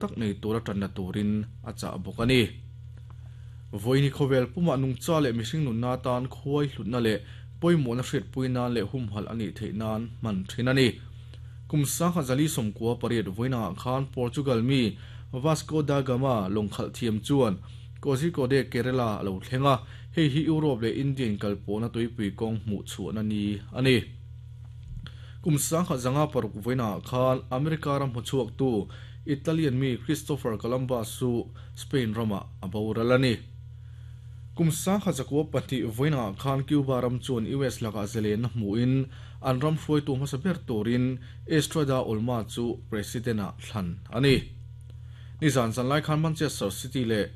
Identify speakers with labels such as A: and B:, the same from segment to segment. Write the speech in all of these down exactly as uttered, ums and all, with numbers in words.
A: tak nei tura tan na turin a cha bawk ani. Voini khovel puma nungcha le mihring nun na tan khuai hlutna le pawimawh na hriat pui nan leh humhalh a nih theih nan hman thin a ni. Kum sangkhat zali sawmkua pariat vawiinah khan Portugal mi Vasco da Gama lawngkhalh thiam chuan Kozhikode, Kerala a lo thleng a, hei hi Europe leh India inkalpawhna tuipui kawng hmuh chhuahna ni a ni. Kum sangkhat zanga paruk vawiinah khan America ram hmuchhuaktu Italian mi Christopher Columbus chu Spain ramah a boral a ni. Kum sangkhat zakua pahnih vawiinah khan Cuba ram chuan U S lakah zalen na hmuhin an ram hruaitu hmasa ber turin Estrada Olma chu president ah thlan a ni. Nizan zan lai khan Manchester City leh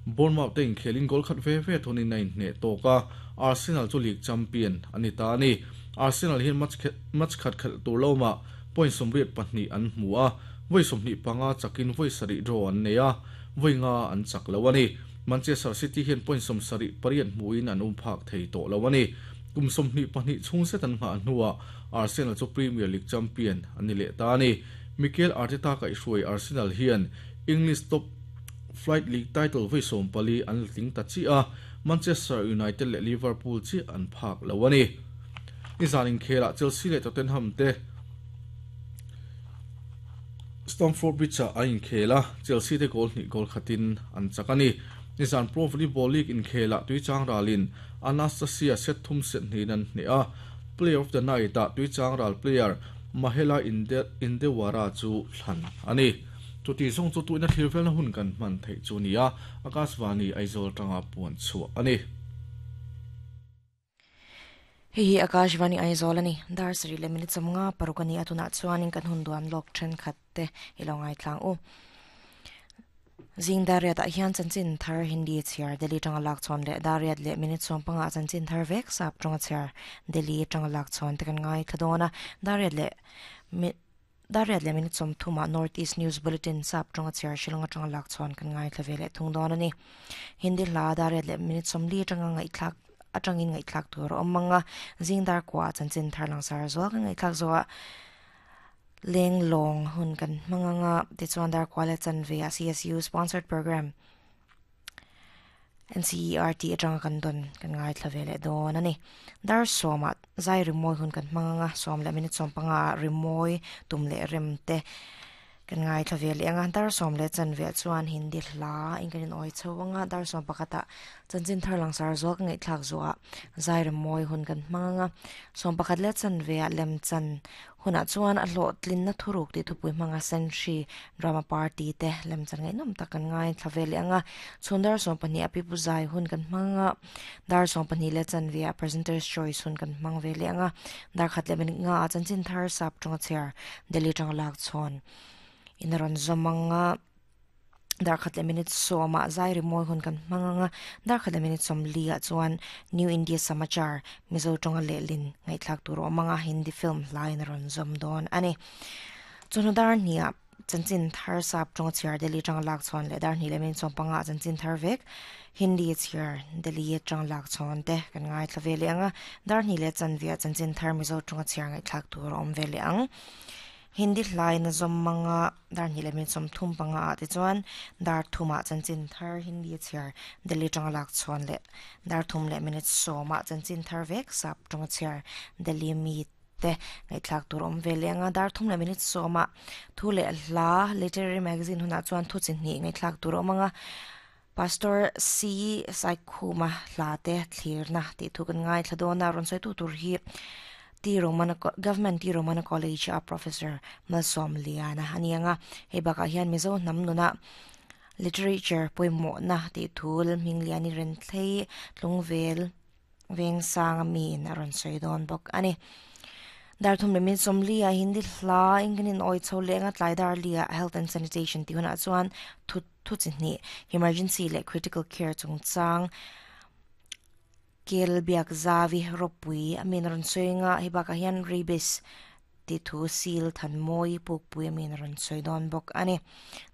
A: Bournemouth te inkhelin goal khat ve ve thunin a inhneh tawk a, Arsenal chu league champion a ni ta a ni. Arsenal hian match match khat khelh tur lawmah point sawmriat pahnih an hmu a, vawi sawmhnih panga chakin vawi sarih draw an nei a, vawi nga an chak lo a ni. Manchester City hian point sawm sarih pariat hmuhin an um phak thei tawh lo a ni. Kum sawmhnih pahnih chhung zet an nghah hnuah Arsenal chu Premier League champion an ni leh ta a ni. Mikel Arteta kaihhruai Arsenal hian English top flight league title vawi sawm pali an la tling ta chiah a, Manchester United leh Liverpool chiah an phak lo a ni. Nizan inkhelah Chelsea leh Tottenham te Stamford Bridge-ah an inkhel a, Chelsea te goal hnih goal khatin an chak a ni. Nizan Pro Volleyball League inkhelah Tuichang ralin Anastasia set thum set hnihin an hneh a, Player of the Night-ah Tuichang ral player Mahela Indewara chu thlan a ni. Chuti zawng chu tuihna thlir velna hun kan hman theih chu a ni a, Akashvani Aizawl tanga puan chhuah a ni.
B: Hei hi Akashvani Aizawl a ni. Dar sarih leh minute sawmnga paruk a ni a, tunah chuanin kan hun duan lawk thenkhat te i lo ngaithlang u. Zing Dariat ah hian chanchin thar Hindi chhiar Delhi tanga lak chhawn leh Dariat leh minute sawm panga ah chanchin thar vek sap tanga chhiar Delhi tanga lak chhawn te kan ngaithla dawn a. Dariat leh Dariat leh minute sawm thum ah North East News Bulletin sap tanga chhiar Shillong atanga lak chhawn kan ngaithla ve leh thung dawn a ni. Hindi hla Dariat leh minute sawm li atanga ngaihthlak atangin ngaihthlak tur a awm ang a. Zing dar kua ah chanchin thar langsar zual kan ngaihthlak zawh ah leng lawng hun kan hmang ang a, tichuan dar kua leh chanve ah C S U sponsored program N C E R T atanga kan dawn kan ngaithla ve leh dawn a ni. Dar sawm ah zai rimawi hun kan hmang ang a, sawm leh minute sawm panga ah rimawi tum leh rem te kan ngaithla ve leh ang a. Dar sawm leh chanve ah chuan Hindi hla in kan in awi chho ang a, dar sawm pakhat ah chanchin thar langsar zual kan ngaihthlak zawh ah zai rimawi hun kan hmang ang a, sawm pakhat leh chanve ah lem chan hunah chuan a hlawh tlinna thuruk tih thupui hmanga Senhri drama party te lem chan ngaihnawm tak kan ngaithla ve leh ang a. Chhun dar sawm pahnih ah pipu zai hun kan hmang ang a, dar sawm pahnih leh chanve ah presenter's choice hun kan hmang ve leh ang a, dar khat leh minute nga ah chanchin thar sap tawnga chhiar Delhi tanga lak chhawn in a rawn zawm ang a, dar khat leh minute sawm ah zai rimawi hun kan hmang ang a, dar khat leh minute sawm li ah chuan New India Samachar Mizo tawnga lehlin ngaihthlak tur a awm ang a, Hindi film hlaiin a rawn zawm dawn a ni. Chawhnu dar hnih ah chanchin thar sap tawnga chhiar Delhi tanga lak chhawn leh dar hnih leh minute sawm panga ah chanchin thar vek Hindi chhiar Delhi tanga lak chhawn te kan ngaithla ve leh ang a, dar hnih leh chanve ah chanchin thar Mizo tawnga chhiar ngaihthlak tur a awm ve leh ang. Hindi hlain a zawm ang a, dar hnih leh minute sawm thum panga ah te chuan dar thum ah chanchin thar Hindi chhiar Delhi tanga lak chhawn leh dar thum leh minute sawm ah chanchin thar vek sap tanga chhiar Delhi mi te ngaihthlak tur awm ve leh ang a, dar thum leh minute sawm ah thu leh hla literary magazine hunah chuan thu chi hnih ngaihthlak tur awm ang a, Pastor C Saikhuma hla te thlirna tih thu kan ngaithla dawn a, rawn sawi tu tur hi T Romana Government T Romana College a Professor Malsawm Liana a ni ang a, hei bakah hian Mizo hnam nuna literature pawimawhna tih thu Lalhming Liani Renthlei Tlungvel Vengsang a miin a rawn sawi dawn bawk a ni. Dar thum leh minute sawmli ah Hindi hla in kan in awi chho leh ang a, tlai dar li ah Health and Sanitation tih hunah chuan thu thu chi hnih Emergency leh Critical Care chungchang Kel biak zavi ropui a min rawn sawi ang a, hei bakah hian rabies tih thu sil than mawi pukpui a min rawn sawi dawn bawk a ni.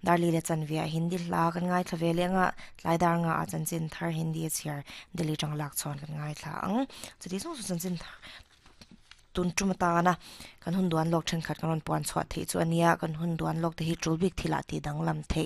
B: Darli leh chanve ah Hindi hla kan ngaithla ve leh ang a, tlai dar nga ah chanchin thar Hindi a chhiar Delhi tang lak chhawn kan ngaithla ang. Chuti zawng chu chanchin thar tun tum ta na kan hun duan lok then khat kan ron puan chhuah thei chu ania kan hun duan lok te hi tul bik thila ti danglam thei.